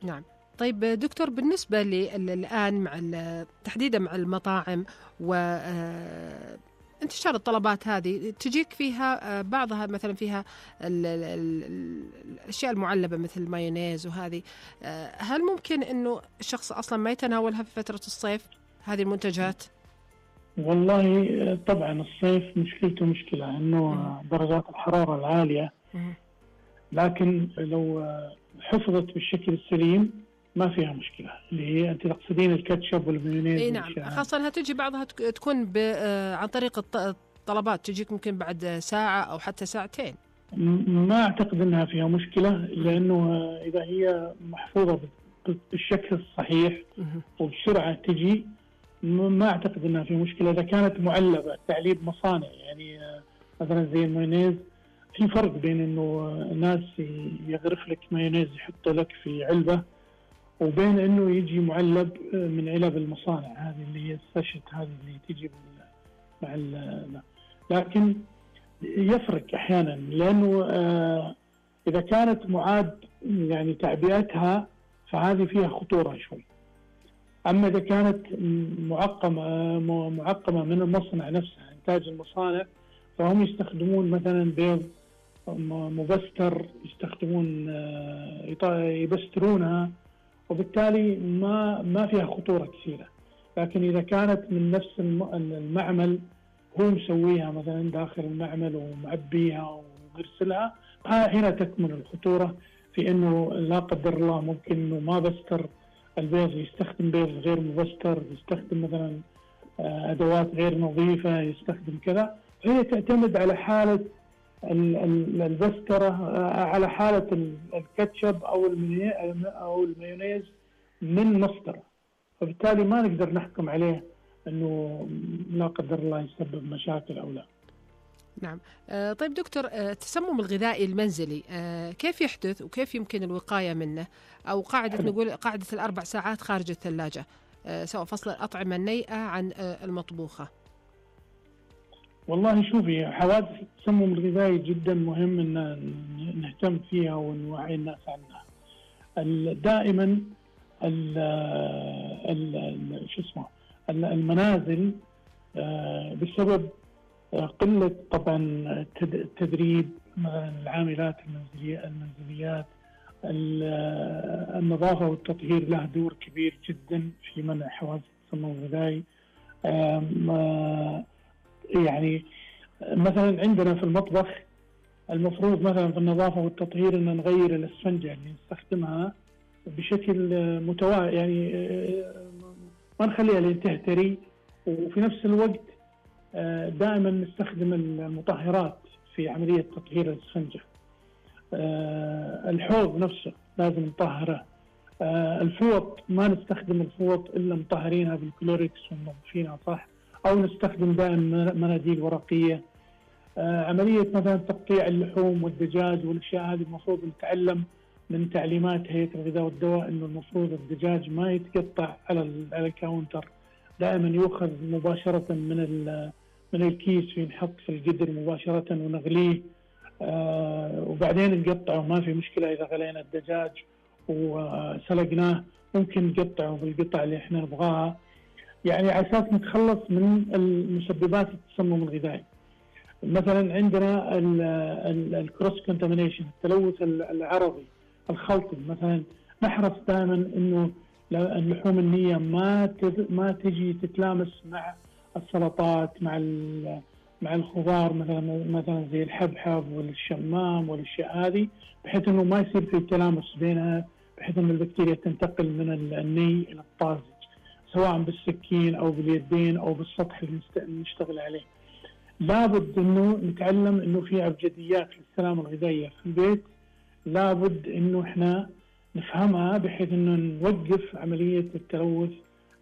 نعم. طيب دكتور، بالنسبة الآن مع تحديدا مع المطاعم وانتشار الطلبات هذه تجيك فيها بعضها مثلا فيها الأشياء المعلبة مثل المايونيز وهذه، هل ممكن أنه الشخص أصلا ما يتناولها في فترة الصيف هذه المنتجات؟ والله طبعا الصيف مشكلته مشكلة أنه درجات الحرارة العالية، لكن لو حفظت بالشكل السليم ما فيها مشكلة. اللي هي أنت تقصدين الكاتشب والمايونيز؟ اي نعم، خاصة أنها تجي بعضها تكون عن طريق الطلبات، تجيك ممكن بعد ساعة أو حتى ساعتين. ما أعتقد أنها فيها مشكلة، لأنه إذا هي محفوظة بالشكل الصحيح وبسرعة تجي، ما أعتقد أنها في مشكلة. إذا كانت معلبة تعليب مصانع، يعني مثلا زي المايونيز، في فرق بين أنه ناس يغرف لك مايونيز يحط لك في علبة، وبين أنه يجي معلب من علب المصانع هذه اللي هي الساشت، هذه اللي تجي مع لكن يفرق أحيانا، لأنه إذا كانت معاد يعني تعبئتها فهذه فيها خطورة شوي. أما إذا كانت معقمة من المصنع نفسها، إنتاج المصانع، فهم يستخدمون مثلا بيض مبستر، يستخدمون يبسترونها، وبالتالي ما فيها خطورة كثيرة. لكن إذا كانت من نفس المعمل، هو مسويها مثلا داخل المعمل ومعبيها ومرسلها، هنا تكمن الخطورة في أنه لا قدر الله ممكن أنه ما بستر البيض، يستخدم بيض غير مبستر، يستخدم مثلا أدوات غير نظيفة، يستخدم كذا. هي تعتمد على حالة البسترة، على حالة الكاتشب أو المايونيز من مصدره، فبالتالي ما نقدر نحكم عليه أنه لا قدر الله يسبب مشاكل أو لا. نعم. طيب دكتور، التسمم الغذائي المنزلي كيف يحدث وكيف يمكن الوقاية منه؟ أو نقول قاعدة ال4 ساعات خارج الثلاجة، سواء فصل الأطعمة النيئة عن المطبوخة. والله شوفي، حوادث التسمم الغذائي جدا مهم أن نهتم فيها ونوعي الناس عنها. دائما المنازل بسبب قلة طبعا التدريب، مثلا العاملات المنزليات، النظافة والتطهير له دور كبير جدا في منع حوادث التسمم الغذائي. يعني مثلا عندنا في المطبخ المفروض مثلا في النظافة والتطهير أن نغير الأسفنجة اللي نستخدمها بشكل متوازي، يعني ما نخليها لين تهتري، وفي نفس الوقت دائما نستخدم المطهرات في عملية تطهير الأسفنجة. الحوض نفسه لازم نطهره. الفوط ما نستخدم الفوط إلا مطهرينها بالكلوريكس ومنظفينها صح، أو نستخدم دائما مناديل ورقية. عملية مثلا تقطيع اللحوم والدجاج والأشياء هذه المفروض نتعلم من تعليمات هيئة الغذاء والدواء إنه المفروض الدجاج ما يتقطع على الكاونتر، دائما يؤخذ مباشرة من الكيس وينحط في القدر مباشرة ونغليه، وبعدين نقطعه. ما في مشكلة إذا غلينا الدجاج وسلقناه، ممكن نقطعه بالقطع اللي احنا نبغاها، يعني على أساس نتخلص من المسببات التسمم الغذائي. مثلا عندنا الكروس كونتامينيشن، التلوث العرضي الخلطي، مثلا نحرص دائما انه اللحوم النية ما تجي تتلامس مع السلطات، مع الخضار، مثلا زي الحبحب والشمام والاشياء هذه، بحيث انه ما يصير في تلامس بينها، بحيث ان البكتيريا تنتقل من الني الى الطازج، سواء بالسكين او باليدين او بالسطح اللي نشتغل عليه. لابد انه نتعلم انه في ابجديات للسلامه الغذائيه في البيت، لابد انه احنا نفهمها بحيث انه نوقف عمليه التلوث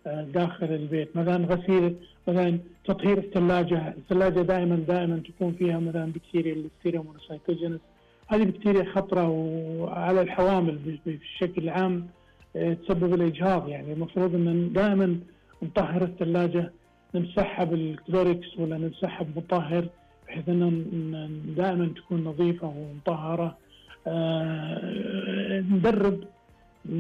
داخل البيت. مثلا غسيل، مثلا تطهير الثلاجه دائما تكون فيها مثلا بكتيريا الليستيريا مونوسيتوجينس، هذه بكتيريا خطره وعلى الحوامل بشكل عام تسبب الاجهاض. يعني المفروض ان دائما نطهر الثلاجه، نمسحها بالكلوريكس ولا نمسحها بمطهر، بحيث ان دائما تكون نظيفه ومطهره. ندرب